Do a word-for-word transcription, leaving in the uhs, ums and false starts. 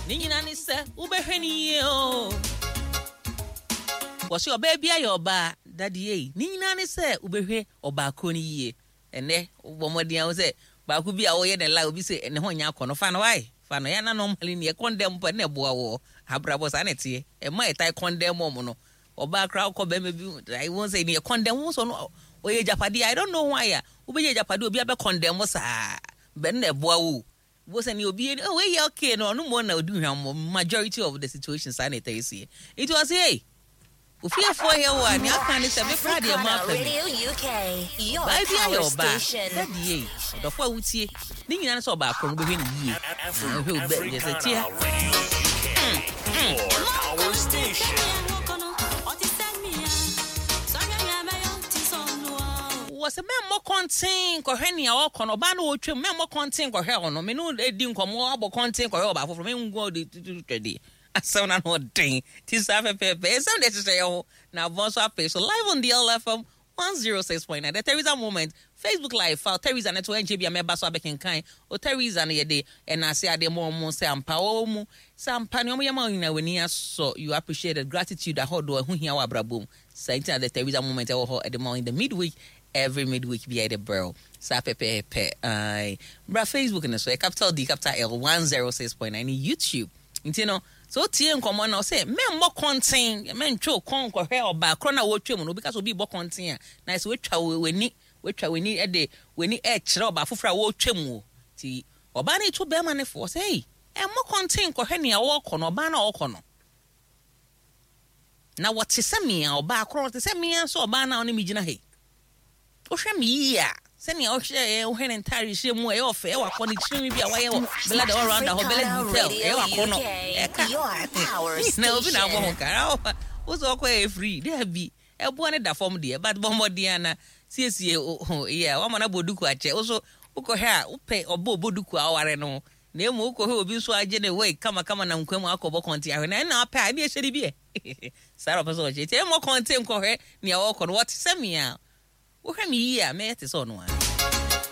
Ne nyinaa ne sɛ wobɛhwɛ ne yie o. Wɔse ɔbaa bi ayɛ ɔbaa dade ei. Ne nyinaa ne sɛ wobɛhwɛ ɔbaa koro no yie. Ɛnɛ wobɔ mmɔden a wo sɛ baako bi a wɔyɛ ne la obi sɛ ne ho nyɛ akɔ no, fa no wae, fa no. Yɛ na normally ne yɛ condemn pa ne ɛboa wɔ abrabɔ saa na ɛteɛ. Ɛma ɛtae condemn ɔmo no. Ɔbaa koraa wokɔ bɛrima bi wɔn sɛ ne yɛ condemn wɔn sɛ ɔno ɔyɛ agyapadeɛ. I don't know why a wobɛyɛ agyapadeɛ, obi abɛ condemn saa bɛn na ɛboa wo wo sɛ ne obi oh wei yɛ okay no, ɔno mo na odi hwam. Majority of the situation saa na ɛtɛ esie. Nti ɔsɛ hey, ofiefoɔ yɛ wɔ a nea aka ne sɛ mekora deɛ mo apa mi baa bi ayɛ ɔbaa dadi yie. Ɔdɔfo a wotie, ne nyinaa ne sɛ ɔbaa koro no bɛhwɛ ne yie na ɔhwɛ wo bɛ yɛ sɛ tia. Your power station. Wɔ sɛ mɛmmɔ kɔnten kɔhwɛ nea ɔkɔ no, ɔbaa no wɔtwam, mɛmmɔ kɔnten kɔhwɛ ɔno. Me ne edi nkɔmmɔ abɔ kɔnten kɔhwɛ ɔbaa foforɔ mengu de tutu twɛde asɛm na no ɔden ti saa pɛpɛɛpɛ. Ɛsɛm de hyehyɛ yɛ ho na abɔ nso apɛ so live on the L F M one oh six point nine, The Theresa Moment, Facebook Live fa Theresa ne to ɛnkyɛ bi a mɛba so abɛkenkan o. Theresa no yɛde ɛnaase adeɛ ma ɔmo sɛ ampa ɔwɔ mu sɛ ampa ne ɔmo yɛ ma wo nyinaa w'ani asɔ. You appreciate the gratitude ahodoɔ ɛho hia wɔ abrabɔ mu saa. Nti na The Theresa Moment ɛwɔ hɔ ɛde ma wo in the midweek, every midweek bi a yɛde brɛ wo saa pɛpɛɛpɛ. Ae, bra Facebook no so, ɛ capital D capital L one oh six point nine ne YouTube. Nti no sɛ wotie nkɔmmɔ no sɛ mɛmmɔ kɔnten, mɛntwe wo kɔn nkɔhwɛ ɔbaa korɔ no a wɔtwa mu no. Obi ka sɛ obi bɔ kɔnten a, na sɛ woatwa w'ani, woatwa w'ani ɛde w'ani ɛkyerɛ ɔbaa foforɔ a wɔretwa mu o. Nti ɔbaa no to bɛrima no fo sɛ ei, ɛmmɔ kɔnten nkɔhwɛ nea wɔrekɔ no, ɔbaa no a ɔrekɔ no na wɔte sɛ mea, ɔbaa korɔ te sɛ mea nso, ɔbaa no a ɔne me gyina ha yi, wohwɛ me yie a, sɛnea wohwɛ ɛ wohwɛ ne ntare hyɛ mu, ɛyɛ ɔfɛ, ɛwɔ akɔ ne tirinwi bi a wayɛ wɔ Bella the All Rounder hɔ, Bella Detail, ɛyɛ wakɔ no ɛka na obi na abɔ ho ka wo sɛ ɔkɔ yɛ free daabi, ɛboa ne da fam deɛ, but bɔ mmɔden ana siesie yɛ wama no abɔ duku akyɛ wo so. Wokɔhwɛ a wopɛ ɔbɔ ɔbɔ duku a ɔware no na emu wokɔhwɛ obi nso agye ne wei kamakama na nkwa mu akɔbɔ kɔnten ahwɛ na ɛna apɛ a ɛne ɛhyɛ ne bi ɛ saa na ɔpɛ sɛ ɔkyɛ nti ɛmmɔ kɔnten nkɔhwɛ nea wɔkɔ no, wɔte sɛ mea. Wohwɛ me yie a, mɛyɛ te sɛ ɔno a.